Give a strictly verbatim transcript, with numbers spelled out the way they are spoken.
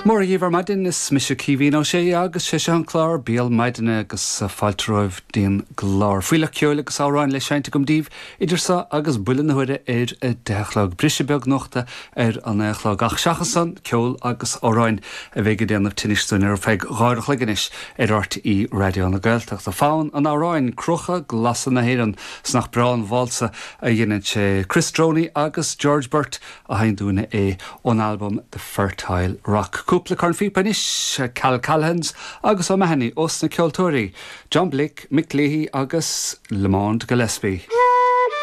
Mora dhaoibh ar maidin is mise Caoimhín Ó Sé agus sé seo an clár Béal Maidine agus fáilte romhaibh dtí'n gclár. Fuílleach ceoil agus amhráin le seinnt agam daoibh idir seo agus buille na huaire ar a deich a chlog briseadh beag nuachta ar a naoi a chlog ach seachas san ceol agus amhráin a bheidh ag déanamh tinnis dúinn ar feadh dhá uair a chloig anois ar RTÉ Raidió na Gaeltachta. Fonn an amhráin Cruacha Glasa na hÉireann 's nach breá an válsa a dhéanann sé Chris Droney agus George Burt a sheinn dúinne é ón album The Fertile Rock. Cúpla cornphíopa anois Cal Callahans agus O'Mahony ós na ceoltóirí, John Blake, Mick Leahy agus Lamond Gillespie.